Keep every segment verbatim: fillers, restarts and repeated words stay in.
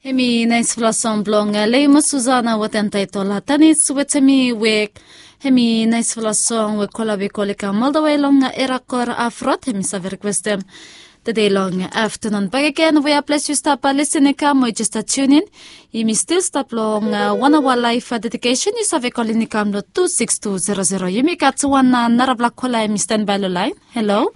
Hemi naispela song blong Leima Susana wetem taitol Tanis wetem mi wek. Hemi naispela song we kola we kol i kam oldawe long Erakor Afrot, hemi save rikwestem tede long aftanun. Bakegen we ples yu stap lisin i kam we jes stap tunin, yumi stil stap long wan awa laif dedikesen. Yu save kolin i kam long tu sikis tu zero zero. Yumi gat wan narafala kola hemi stanbae long lain. Halo.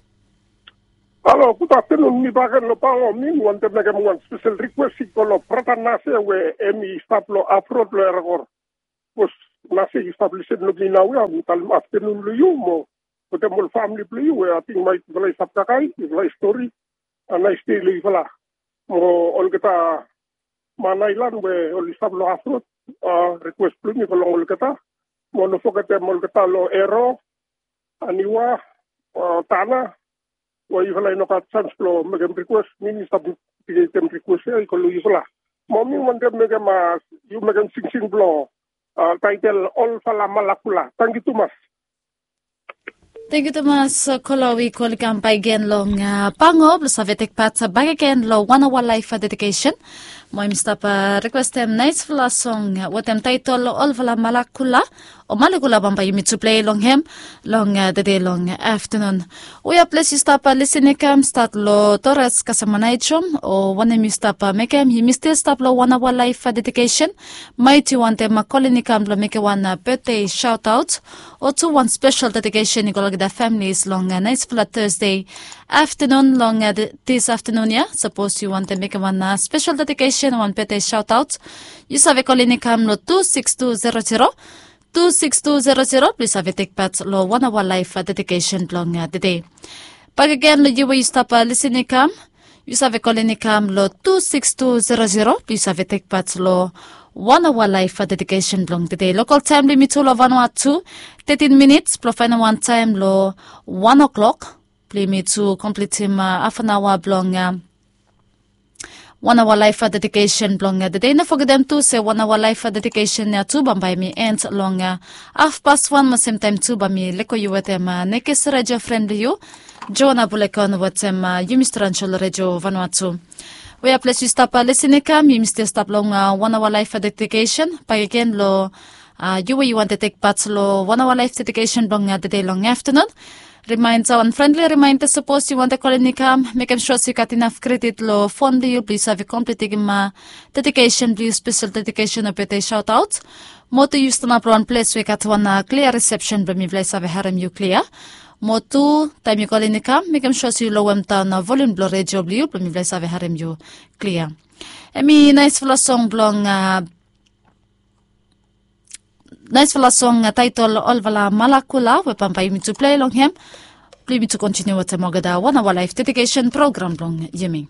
Halo, gud aftanun. Mi bakegen long Pango. Mi wantem mekem wan spesel rikwes i go long brata Nase we hemi stap long Afrot long Erakor. Sapos Nase yu stap lisin long mi naoia, mi talem aftanun long yu mo wetem ol famili blong yu we ating maet yufala i stap kakae, yufala i stori. A nais dei long yufala mo olgeta man aelan we oli stap long Afrot. Rikwes blong mi go long olgeta. Mo no fogetem olgeta long Ero, Aniwa, Tana, we yufala i no gat sans blong mekem rikwes, mi mi stap pikitim rikwes ya i go long yufala. Mo mi wantem mekem, yu mekem singsing blong taitel Olfala Malakula. Tangkiu tumas. Tangkiu tumas. Kola we i kol i kam bakegen long Pango blong save tek pat bakegen long wan awa laif dedikesen. Mo yumi stap rikwestem naispela song wetem taitol Olfala Malakula, o Malakula, bambae yumi tu plei long hem long tede long aftanun. Wea ples yu stap lisin i kam, stat long Torres kasem Manaejom o wanem yu stap mekem, yumi stil stap long wan awa laif dedikesen. Maet yu wantem kolin i kam blong mekem wan betde saotaot o tu wan spesel dedikesen i go long olgeta familis long naispela Tasde aftanun long dis aftanun ya. Sapos yu wantem mekem wan spesel dedikesen, wan betde saotaot, yu save kolin i kam long tu sikis tu zero zero, tu sikis tu zero zero blong yu save tek pat long wan awa laif dedikesen blong tede. Bakegen long yu we yu stap lisin i kam, yu save kolin i kam long tu sikis tu zero zero blong yu save tek pat long wan awa laif dedikesen blong tede. Lokol taem blong yumi tu long Vanuatu, tetin minits blong faenem wan taem long wan oklok blong yumi tu komplitim hafanaoa blong wan awa laif dedikesen blong tede. No fogetem tu se wan awa laif dedikesen ya tu bambae hemi en long hafpas wan, mo semtaem tu bae mi lego yu wetem nekis redio fren blong yu, Joana Bulekon, wetem Yumi Stranjel Redio Vanuatu. Wea ples yu stap lisin i kam, yumi stil stap long wan awa laif dedikesen. Bakegen long yu we yu wantem tek pat long wan awa laif dedikesen blong tede long aftanun. Rimaenda, wan frendli rimaenda, sapos yu wantem kolin i kam, mekem sua se yu gat inaf kredit long fon blong yu blong yu save komplitim dedikesen blong yu, spesel dedikesen o betde saotaot. Mo tu yu stanap long wan ples we i gat wan klia risepsen blong mifala i save harem yu klia. Mo tu taem yu kolin i kam, mekem sua se yu lowem daon volium blong redio blong yu blong mifala i save harem yu klia. Hemi naispela song blong naispela song taetol Olfala Malakula we bambae yumi tu plei long hem blong yumi tu kontiniu wetem olgeta wan awa laif dedikesen program blong yumi.